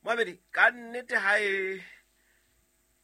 Moamedi, ka nnete ha e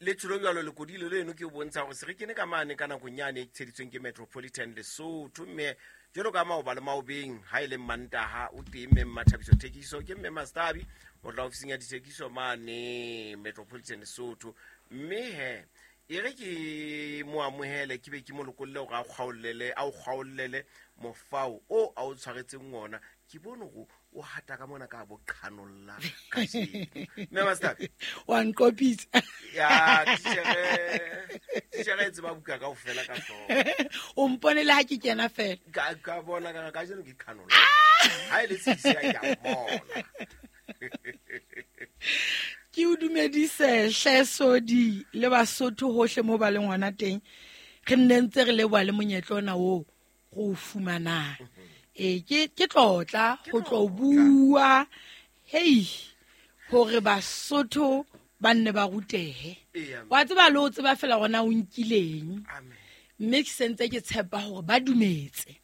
letsholo jalo lekodilo leno ke o bontsha gore se re kene ka mane ka nakong yane e tsheditsweng ke Metropolitan Lesotho, mme jalo ka maoba le maobeng ha e le Mantaha o teng mme Mmathabiso Thekiso ke mme Mastabi o tla ofising ya dithekiso mane Metropolitan Lesotho. Mme he e re ke mo amohele, ke be ke mo lokolle gore a o kgaollele mofao o a o tshwaretseng ona. Ke bone gore o hata ka mona ka bo qhanolla kajeno. Mme Mastabi, wa nqopitsa. Ya, titjhere e tseba buka kaofela ka hlooho. O mpone le ha ke kena fela. Ka bona ka kajeno ke qhanolla. Ha e le tshisi ya ke a bona. Ke o dumedise hle Sodi le Basotho hohle mo ba leng hona teng. Re nne ntse re leboha le monyetla ona oo go o fumanang. Ke tlotla go tlo bua, hei, hore Basotho ba nne ba rutehe. Wa tseba le o tseba fela hore na o nkileng. Mme ke sentse ke tshepa hore ba dumetse.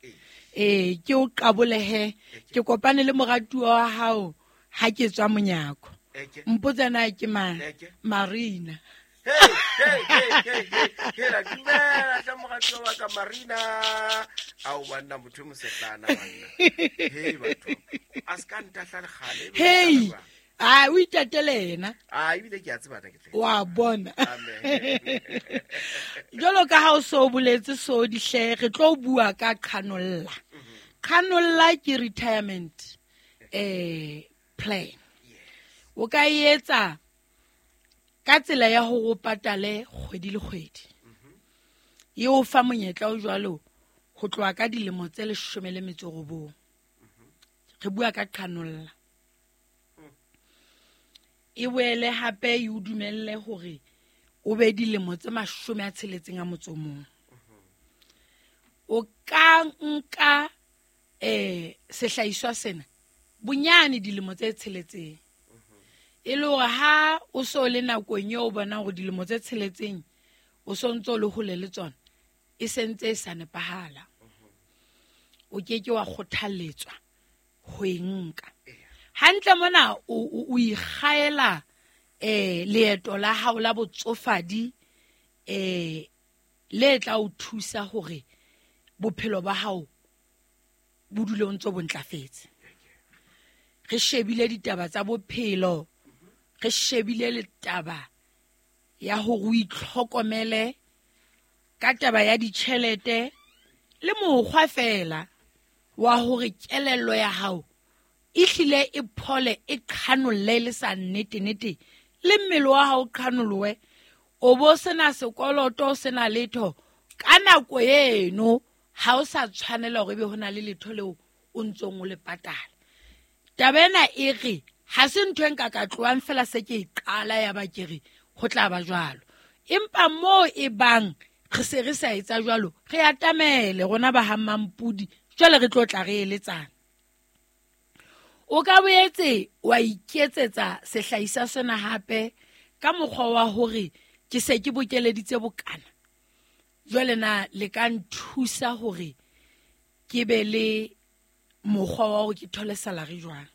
Ke o qabolehe, ke kopane le moratuwa wa hao ha ke tswa monyako. Mpotsa na ke mang? Marina. Hey, hey, hey, hey, hey, hey, la dumela hle moratuwa wa ka Marina. Ao banna, motho e mosehlana banna. Hey, batho. A se ka ntahla le kgale, ebile Hey. ke tla leboha. A, o itatele yena. A, ebile ke a tseba na ke tla. Wa bona. Amen. Jwalo ka ha o so boletse so dihle, re tlo bua ka qhanolla. Qhanolla ke retirement plan. O ka e etsa ka tsela ya hore o patale kgwedi le kgwedi. E o fa monyetla o jwalo ho tloha ka dilemo tse 19. Re bua ka qhanolla. E boele hape e o dumelle hore o be dilemo tse 61. O ka nka sehlahiswa sena bonyane dilemo tse tsheletseng. E le hore ha o so le nakong eo o bonang hore dilemo tse tsheletseng o so ntso le hole le tsona, e sentse e sa nepahala. O ke ke wa kgothalletswa ho e nka. Hantle mona o ikgaela leeto la hao la botsofadi le tla o thusa hore bophelo ba hao bo dule o ntso bo ntlafetse. Re shebile ditaba tsa bophelo, re shebile le taba ya hore o itlhokomele ka taba ya ditjhelete le mokgwa fela wa hore kelello ya hao e hlile e phole, e qhanolle le sa nnete nnete, le mmele wa hao o qhanolowe, o bo sena sekoloto, o sena letho. Ka nako eno ha o sa tshwanela hore ebe ho na le letho leo o ntsong o le patala. Taba ena e re ha se ntho e nka ka tlohang fela se ke e qala ya ba ke re ho tla ba jwalo. Empa moo e bang re se re sa etsa jwalo, re atamele rona ba ha Mampudi, jwale re tlo tla re eletsana. O ka boetse wa iketsetsa sehlahiswa sena hape ka mokgwa wa hore ke se ke bokeleditse bokana. Jwale na le ka nthusa hore ke be le mokgwa wa hore ke thole salary jwang?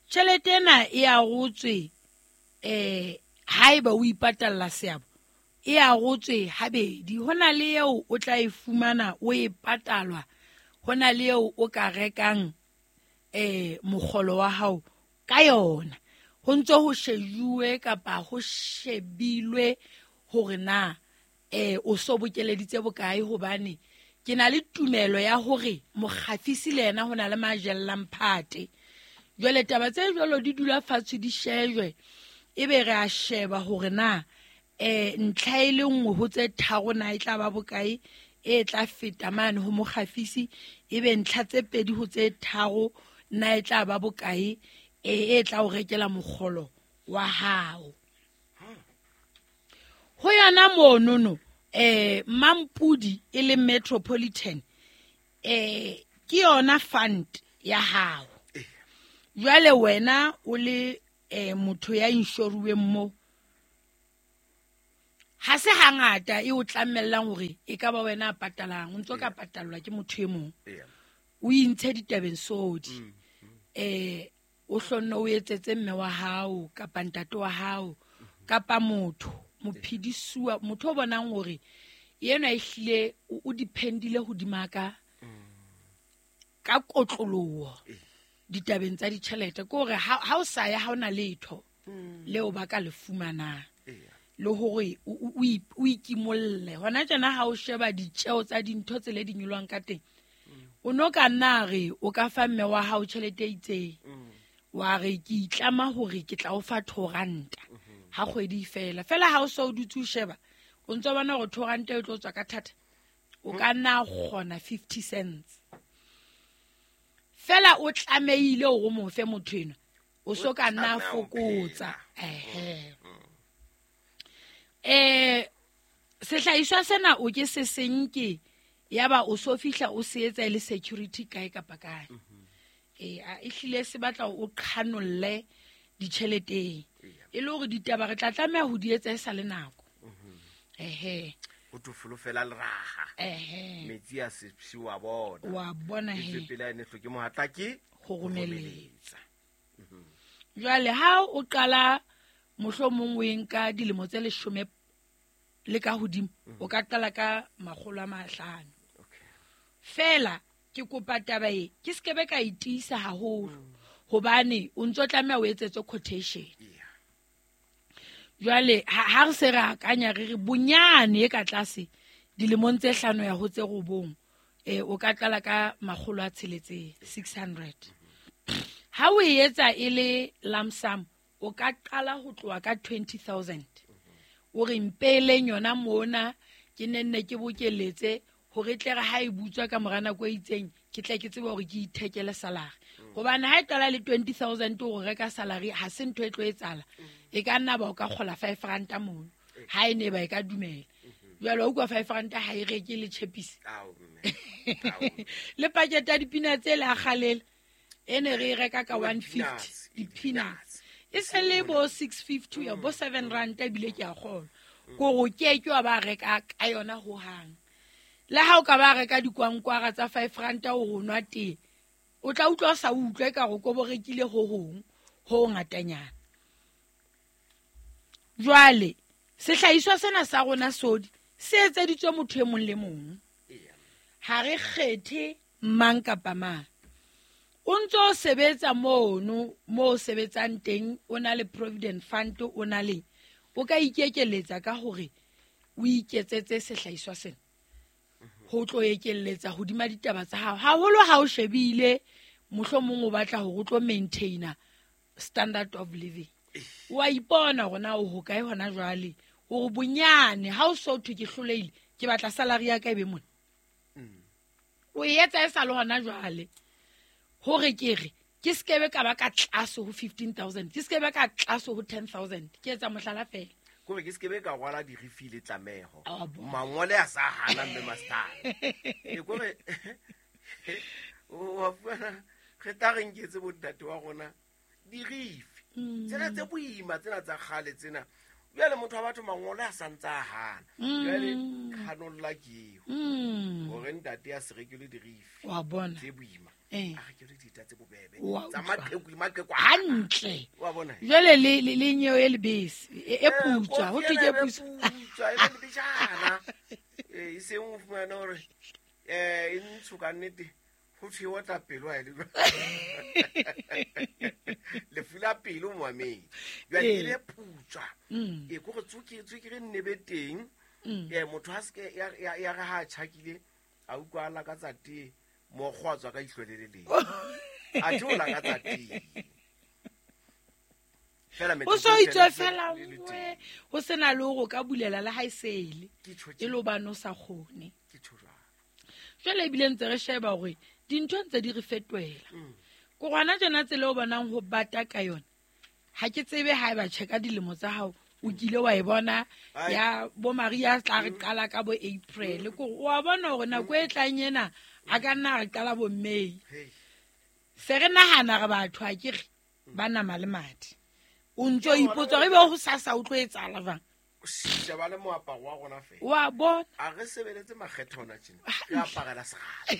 Tjhelete ena e arotswe, haeba o ipatalla seabo, e arotswe habedi. Ho na le eo o tla e fumana o e patalwa, ho na le eo o ka rekang mokgolo wa hao ka yona. Ho ntso ho shejuwe kapa ho shebilwe hore na o so bokeleditse bokae, hobane ke na le tumelo ya hore mokgafisi le yena ho na le majellang phate. Jwale taba tse jwalo di dula fatshe di shejwe, ebe re a sheba hore na ntlha e le nngwe ho tse tharo na e tla ba bokae e tla feta mane ho mokgafisi, ebe ntlha tse pedi ho tse tharo na e tla ba bokae e tla o rekela mokgolo wa hao. Ho yona monono, Mampudi e le Metropolitan, ke yona fund ya hao. Jwale wena o le motho ya inshoruweng mo, ha se hangata e o tlamellang hore e ka ba wena a patalang, o ntso ka patallwa ke motho e mong. O intshe ditabeng sodi. O hlonne o etsetse mme wa hao kapa ntate wa hao kapa motho mophedisuwa, motho o bonang hore yena ehlile o dependile hodima ka ka kotloloho ditabeng tsa ditjhelete, ke hore ha o sa ya ha ona letho leo ba ka le fumanang, le hore o ikimolle. Hona tjena ha o sheba ditjeo tsa dintho tse le di nyolwang ka teng, o no ka nna re o ka fa mme wa hao tjhelete e itseng, wa re ke itlama hore ke tla o fa 2 ranta ha kgwedi fela. Fela ha o so o dutse o sheba, o ntso bona hore 2 ranta e tlo tswa ka thata, o ka nna kgona 50 cents. Fela o tlamehile hore o mo fe motho enwa, o so ka nna fokotsa. Sehlahiswa sena o ke se senke, yaba o so fihla o se etsa e le security kae kapa kae. Ehlile se batla o qhanolle ditjheleteng, e le hore ditaba re tla tlameha ho di etsa e sa le nako. O tofolofela le raha. Metsi a se wa bona. Wa bona he. Pele ene hloke mohatla ke ho romeletsa. Jwale ha o qala mohlomong o nka dilemo tse 10 le ka hodimo, o ka qala ka 500. Fela ke kopa taba e ke skebe ka itisa haholo, hobane o ntso tlameha o etsetse quotation. Jwale ha re se re akanya re re bonyane e ka tlase dilemong tse 5 ya ho tse 9, o ka qala ka 600, 600. Ha o etsa e le lump sum, o ka qala ho tloha ka 20,000. O re mpeleng yona mona ke nenne ke bokeletse hore tle re ha e butswa ka mora nako e itseng, ke tle ke tsebe hore ke ithekele salary. Hobane ha e qala le 20,000 o reka salary, ha se ntho e tlo etsahala. E ka nna ba o ka kgola 5 ranta mono, ha e ne ba e ka dumela. Jwale o utlwa 5 ranta ha e reke le tjhepisi. Le pakete ya dipina tse le a kgalela, e ne re e reka ka 150, di-peanuts. E se le bo 650 ya bo 7 ranta ebile ke a kgolwa. Kore ke ke wa ba reka ka yona hohang. Le ha o ka ba reka dikwankwara tsa 5 ranta o nwa tee, o tla utlwa o sa utlwe ka hore ko bo rekile ho hong, ho ngatanyana. Jwale sehlahiswa sena sa rona sodi se etseditswe motho e mong le mong. Ha re kgethe mang kapa mang. O ntso sebetsa mono, mo sebetsang teng, o na le provident fund, o na le, o ka ikekeletsa ka hore o iketsetse sehlahiswa sena. Ho tlo ekelletsa hodima ditaba tsa hao. Haholo ha o shebile, mohlomong o batla hore o tlo maintaina standard of living. Wa ipona hore na o hokae hona jwale, hore bonyane ha o so thwe ke hlolehile, ke batla salary ya ka e be mona. O e etsa e sa le hona jwale. Hore ke re, ke skebe ka ba ka tlase ho 15,000, ke skebe ka tlase ho 10,000, ke etsa mohlala fela. Kore ke skebe ka rwala dirifi le tlameho. Mangole a sa hana mme master. E kore o fumana re tla re nketse bontate wa rona dirifi. Tsena tse boima, tsena tsa kgale tsena. Jwale motho wa batho mangole a sa ntsa hana. Jwale khanolla ke eo. Hore ntate a se rekele dirifi. Wa bona. Tse boima. A rekele dita tse bobebe. Tsa maqheku le maqheku hantle. Wa bona. Jwale le nyeo e lebese, e putswa, ho thwe ke putswa. Putswa, e le lebejana. E seng o fumana hore e ntsho ka nnete. Ho thwe o tla pelo ha e le jwalo. Lefu la pelo moamedi. Jwale e le putswa. E kore tswekere nne be teng. Motho ha se ya re ha tjhakile, a utlwa a lakatsa tee, mokgwa tswa ka ihlo le le leng. A tlo lakatsa tee. Fela O so itswe fela nngwe, ho sena le hore o ka bulela le ha e sele. E le hobane o sa kgone. Ke tjho jwalo. Jwale ebile ntse re sheba hore dintho ntse di re fetohela. Ko hona tjena tsela o bonang ho bata ka yona, ha ke tsebe ha eba tjheka dilemo tsa hao, o kile wa e bona ya bo Maria tla re qala ka bo April. Ko wa bona hore nako e tlang ena a ka nna re qala bo May. Se re nahana re batho ha ke re ba nama le madi. O ntso ipotsa re be ho sasa o tlo etsahala jwang? Sheba le moaparo wa rona fela. Wa bona. A re sebeletse makgetho hona tjena. Re aparela serala.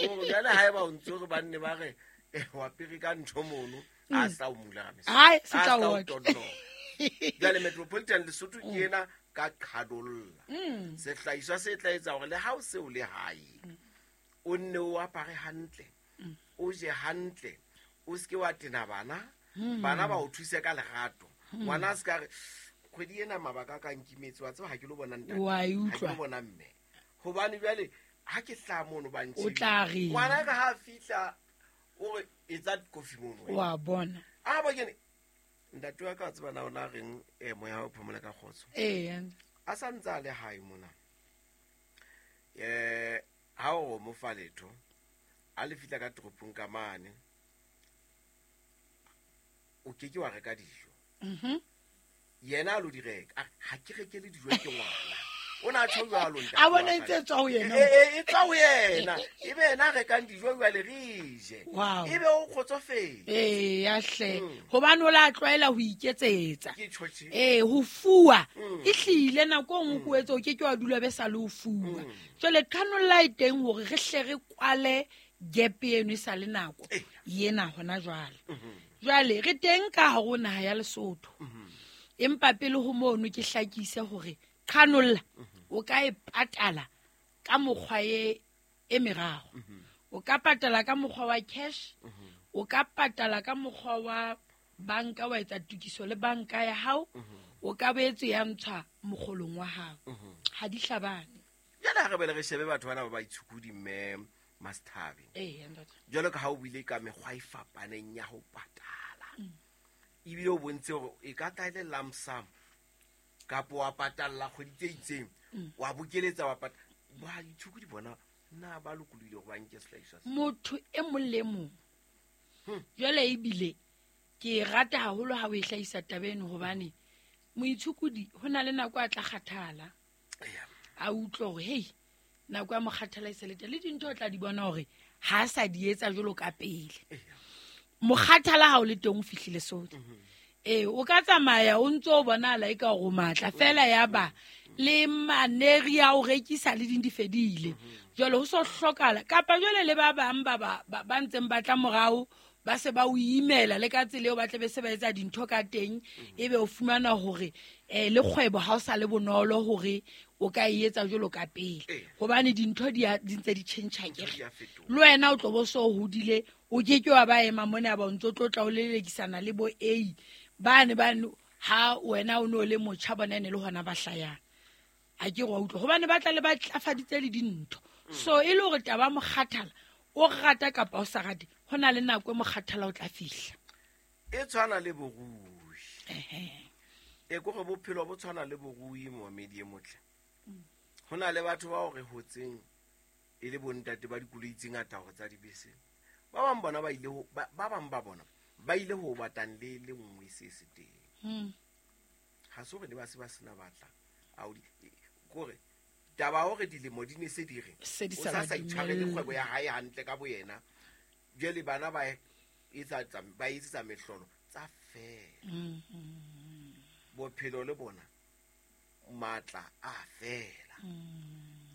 O jwale ha eba o ntso re banne ba re Wa pere ka ntho mono a sa o mula ka Hai, se tla o otla. Jwale Metropolitan Lesotho ke ena ka qhadolla. Sehlahiswa se tla etsa hore le ha o se o le hae, o nne o apare hantle, o je hantle, o seke wa tena bana, bana ba o thuse ka lerato. Ngwana a se ka re kgwedi ena mabaka a ka nkimetse, wa tseba ha ke lo bona ntate, Wa e ha ke utlwa. lo bona mme. Hobane jwale ha ke hlaha mono ba O tla reng? Ngwana ka ha a fihla o re etsa kofi mono wena. Wa bona. A ba kene ntate wa ka wa tseba na o na reng, moya wa ho phomola ka kgotso. Ee. A sa ntse a le hae mona. Ha o mo fa letho, a le fihla ka toropong ka mane, o ke ke wa reka dijo. Yena a lo di reka. A re, ha ke rekele dijo ke ngwana. O na tjho jwalo ntate A bona wa e ka. ntse e tswa ho yena. E tswa ho yena. Ebe yena a rekang dijo jwale re je. Wow. Ebe o kgotsofetse. Ee, ya hle. Hobane o la tlwaela ho iketsetsa. Ke tjho tje. Ee, ho fuwa. E hlile nako e nngwe ko etse o ke ke wa dula be sa le ho fuwa. Jwale qhanolla e teng hore re hle re kwale gap eno e sa le nako ena hona jwale. Jwale re teng ka hare ho naha ya Lesotho. Empa pele ho mono ke hlakise hore qhanolla o ka e patala ka mokgwa e meraro. O ka patala ka mokgwa wa cash, o ka patala ka mokgwa wa banka, wa etsa tokiso le banka ya hao, o ka boetse ya ntshwa mokgolong wa hao. Ha di hlabane. Jwale ha re bele re shebe batho bana ba baitshokodi mme Masthabi. Ee, ntate. Jwalo ka ha o buile ka mekgwa e fapaneng ya ho patala. Ebile o bontse hore e ka tla e le lump sum kapa wa patalla kgwedi tse itseng, wa bokeletsa wa patala. Baitshokodi bona na ba lokolohile hore ba nke sehlahiswa se? Motho e mong le mong. Jwale ebile ke e rata haholo ha o e hlahisa taba eno hobane moitshokodi ho na le nako a tla kgathala. Eya. A utlwe hore hei, nako ya mokgathala e se le teng. Le dintho o tla di bona hore ha a sa di etsa jwalo ka pele. Eya. Mokgathala ha o le teng o fihlile sodi. Ee, o ka tsamaya o ntso o bonahala eka hore o matla fela ya ba le maneri a o rekisa le ding di fedile. Jwale ho so hlokahala kapa jwale le ba bang ba ntseng ba tla morao ba se ba o imela le ka tsela eo ba tla be se ba etsa dintho ka teng, ebe o fumana hore, le kgwebo ha o sa le bonolo hore o ka e etsa jwalo ka pele. Hobane dintho di ntse di tjhentjha Dintho akere. di a fetoha. Le wena o tlo bo so hodile, o ke ke wa ba ema mona ba o ntso tlo tla o lelekisana le bo A. Bane bane ha wena o no le motjha bona ene le hona ba hlayang. Ha ke re wa utlwa hobane ba tla le ba tlafaditse le dintho. So e le hore taba ya mokgathala o rata kapa o sa rate, ho na le nako e mokgathala o tla fihla. E tshwana le borui. E kore bophelo bo tshwana le borui momedi e motle. Ho na le batho bao re hotseng e le bontate ba dikoloi tse ngata hore tsa dibese. Ba bang bona ba ile ho, ba, ba bang ba bona ba ile ho batang le le nngwe se se teng. Ha se hore ne ba se ba sena batla. A o di, kore taba hore dilemo di ne se di re, Se di o sa sa ba sa itshwarele dumelle. kgwebo ya hae hantle ka boyena. Jwale bana ba etsa tsa, ba etsetsa mehlolo tsa fela. Bophelo le bona matla a fela.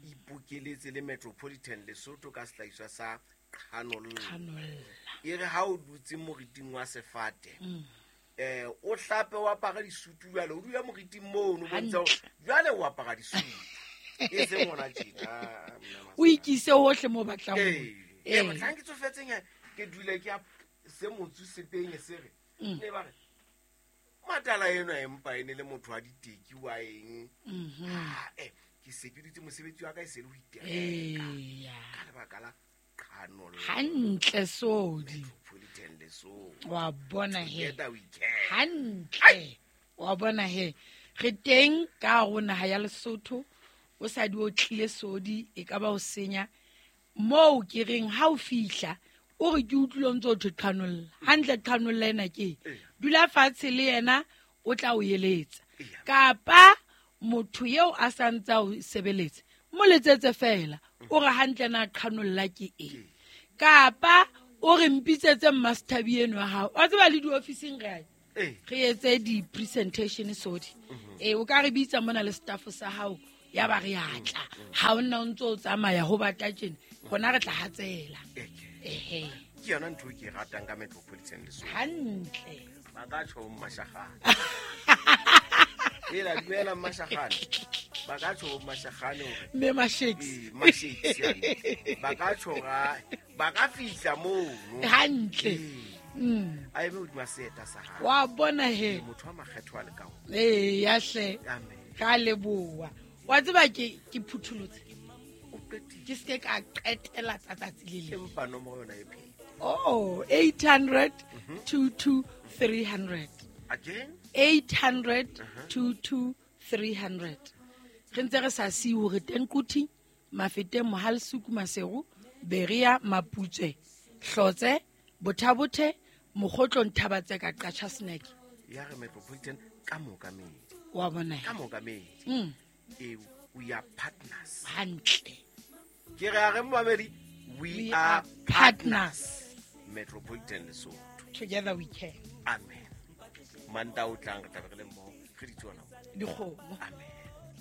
Ipokeletse le Metropolitan Lesotho ka sehlahiswa sa qhanolla. Qhanolla. E re ha o dutse moriting wa sefate, o hlape o apare disutu jwale, o dula moriting mono, o bontsha hore Hantle. jwale o apara disutu. E seng hona tjena, mna O ikise hohle moo o batlang ho. Ee. Ee, mohlang ke tsofetseng, ke dule ke se motsu se penye se re. Ne ba re, matala enwa empa e ne le motho wa diteki wa eng. Ha, ke se ke dutse mosebetsi wa ka e se le ho itereka. Eya. Ka lebaka la qhanolla. Hantle sodi. Metropolitan Lesotho. Wa bona he. Together we can. Hantle. Wa bona he. Re teng ka hare ho naha ya Lesotho. O sa di o tlile sodi e ka ba o senya. Moo ke reng ha o fihla o re ke utlwile o ntse o thwe qhanolla. Hantle qhanolla ena ke eng? Dula fatshe le yena o tla o eletsa. Kapa motho eo a sa ntse a o sebeletsa, mo letsetse fela o re hantle na qhanolla ke eng. Kapa o re mpitsetse Masthabi eno wa hao. Wa tseba le diofising re a re etse di-presentation sodi. O ka re bitsa mona le staff sa hao ya ba re a tla. Ha o nna o ntse o tsamaya ho bata tjena, rona re tla hatsela. Ehe. Ke yona ntho e ke e ratang ka Metropolitan Lesotho. Hantle. Ba ka tjho mmashagane. Ela dumela mmashagane. Ba ka tjho mmashagane hore Mme Mashakes. ee, Mashakes yane. Ba ka tjho ga ba ka fihla mono. Hantle. Ee. A eme hodima seeta sa hae. Wa bona he. Motho wa makgetho a le ka ho. Ee, ya hle. Amen. Ra leboha. Wa tseba ke phutholotse. O qetile. Ke seke ka qetela tsa tsatsi le leng. Empa nomoro yona e phela. Oh, 800 22 300. Again? 800 22 300. Re ntse re sa siye hore teng Quthing, Mafeteng, Mohalesuku, Maseru, Berea, Maputswe, Hlotse, Bothabothe, Mokgotlong, Thabatseka, Qacha Snack. Ya re Metropolitan ka mookamedi. Wa bona he. Ka mookamedi. Ee, we are partners. Hantle. Ke re a re momamedi, we We are are partners. Metropolitan Lesotho. Together we can. Amen. Manta o tlang re tla be re le mmoho. Re di tsona. Dikgomo. Amen.